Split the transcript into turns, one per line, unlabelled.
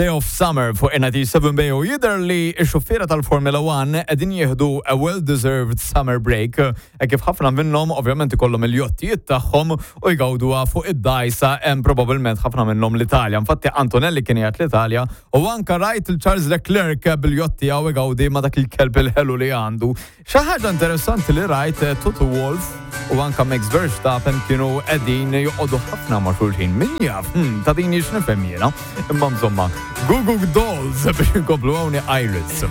Day of Summer fuq NIT 7 Bay u jidher li x-xufiera tal-Formula 1 qegħdin jieħdu a well-deserved summer break e kif ħafna minnhom ovvjament ikollhom il-jottijiet tagħhom u jgawduha fuq id-dgħajsa hemm probabbilment ħafna minnhom l-Italja. Infatti Antonelli kien qiegħed l-Italja u anka rajt il-Charles Leclerc bil-jott tiegħu igawdi ma' dak il-kelb il-ħelu li għandu. Xi ħaġa interessanti li rajt eh, Toto Wolff u anka Max Verstappen kienu qegħdin joqogħdu ħafna ma' xulxin. Min jaf, hmm, ta' din jiex nifhem jiena. Imma insomma, Goo Goo Dolls biex inkomplu hawn Iris.